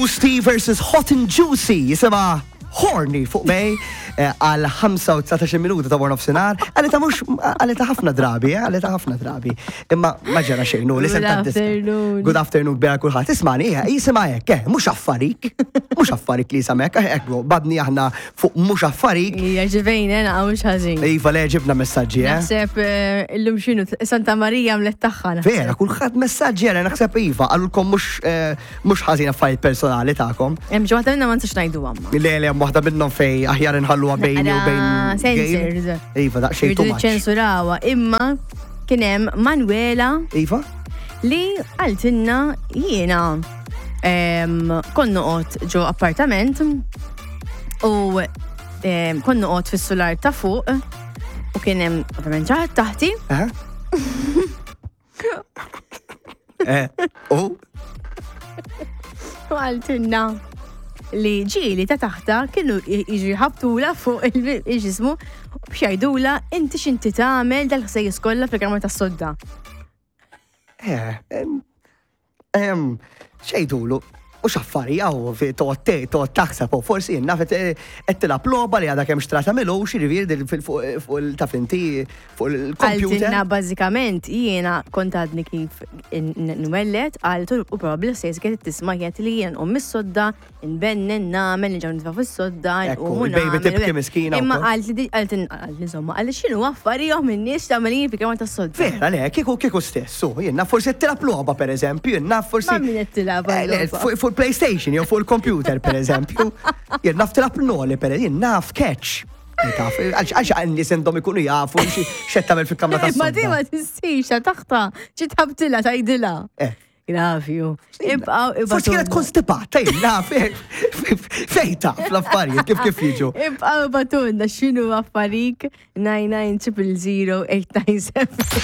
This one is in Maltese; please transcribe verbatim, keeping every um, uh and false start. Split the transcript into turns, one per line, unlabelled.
Steve versus Hot and Juicy jisimha Horny fuq Bay eh, għal ħamsa u dsatax-il minuta ta' nofsinhar. Għalita mhux għalita ħafna drabi, eh, għalita ħafna drabi. Imma ma ġara xejn, li
Good afternoon.
Good afternoon bera kulħadd. Ismani, eh, jisimha hekk, eh, mhux affarik. Mhux affarik li jisamek, eh, hekk badni aħna fuq mhux affarik.
Ija ġivejn, ena mhux ħażin.
Iva, le, ġibna messaġġi, eh.
Naħseb eh, illum xinu, Santa Marija mlet tagħha. Naħseb.
Vera, kulħadd messaġġi għara, naħseb iva, għalulkom mhux eh, mhux ħażin affarijiet personali tagħkom.
Hemm xi waħda minnha ma nistax ngħidu għamma.
Le, le, hemm waħda minnhom fej aħjar inħalluha bejni u bejn.
Sensors.
Iva, daqsxejn
Irridu
too much.
ċensurawa, imma kien hemm Manuela
Iva?
li qaltilna: jiena em, kont noqgħod ġo appartament u em, kont noqgħod fis-sular ta' fuq u kien hemm ovvjament xi ħadd taħti.
Eh? Eh, u?
U qaltilna li ġieli ta' taħta kienu jiġu jħabtula fuq il-ġismu biex jgħidula: "Inti x'inti tagħmel dal-ħsejjes kollha fil-kamra tas-sodda?"
Eh, em, em, xejdulu, u xaffari għaw, toqgħod toqgħod taħseb, u forsi jenna qed tilgħab logħba li għadha kemm xtrata milu, xirivier fuq il-taf inti fuq il-computer.
Qaltilna bażikament jiena kont għadni kif nwellet, qaltu, u probabbli s-sejs kienet tisma' kienet li jien um mis-sodda, nbennen, nagħmel, nġaw nitfa' fis-sodda,
Ekku,
nqumu
il-baby
nagħmel.
tibki miskina
Imma
wkoll.
qalt li qalt qalt insomma, qalt x'inhu affarijhom in-nies tagħmelin fi kamra tas-sodda.
Vera, le, kieku kieku stessu, jenna forsi qed tilgħab logħba, per eżempju, jenna forsi.
Ma min qed tilgħab
Eh, le,
logħba?
Fuq fuq il-PlayStation jew fuq il-computer, per eżempju. Jien naf tilgħab noli, per eżempju, jien naf catch. Taf, għax għax għan-nies għandhom ikunu jafu x'qed tagħmel fil-kamra
Ma di ma
tas-sodda.
tistix ta' taħta, ġi tħabtilha tgħidilha.
Eh.
Gravju. Ibqaw
Forsi kienet konstipata, jien naf, fej taf l-affarijiet kif kif jiġu.
Ibqaw ibagħtulna x'inhu affarik nine nine triple zero eight nine seven.